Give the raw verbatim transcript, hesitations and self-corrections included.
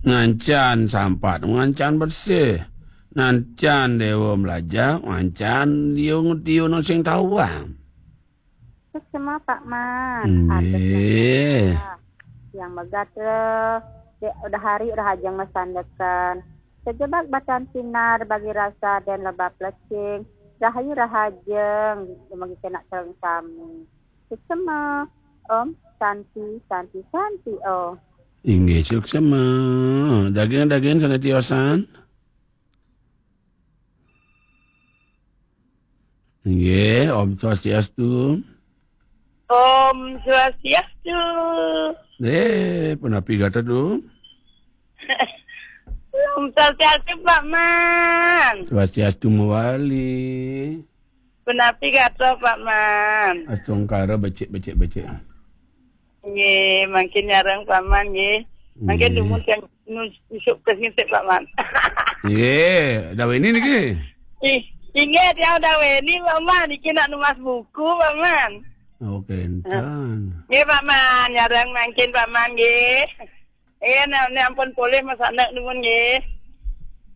Ngancan sampat, ngancan bersih. Ngancan dewa melajah, ngancan liung tiun sing tawang. Suksma, Pak Man. Nggih. Atur yang megat, eh, dek, udah hari udah hajeng mesandekan. Sejebak batan sinar bagi rasa dan lebab lecing. Rahayu rahajeng, bagi kena sareng sami. Suksma. Om Santi, Santi, Santi, oh. Inggih, suksma. Daging-daging sana tiosan. Nggih, Om Swastiastu. Om Swastiastu. Eh, punapi gatra, Du? Om Swastiastu, Pak Man. Swastiastu mawali. Punapi gatra, Pak Man? Astungkara becik, becik, becik. Nggih, mangkin nyareng Pak Man nggih. Mangkin dumun sing nu-, isuk ke sini, Pak Man. Nggih, daweni niki? Ih, inggih, tiang daweni, Pak Man. Iki nak numas buku, Pak Man. Oke, entan. Nggih, Pak Man, nyareng mangkin, Pak Man nggih. Iya, nah, ini ampun polih, Mas Anak, nuwun nggih.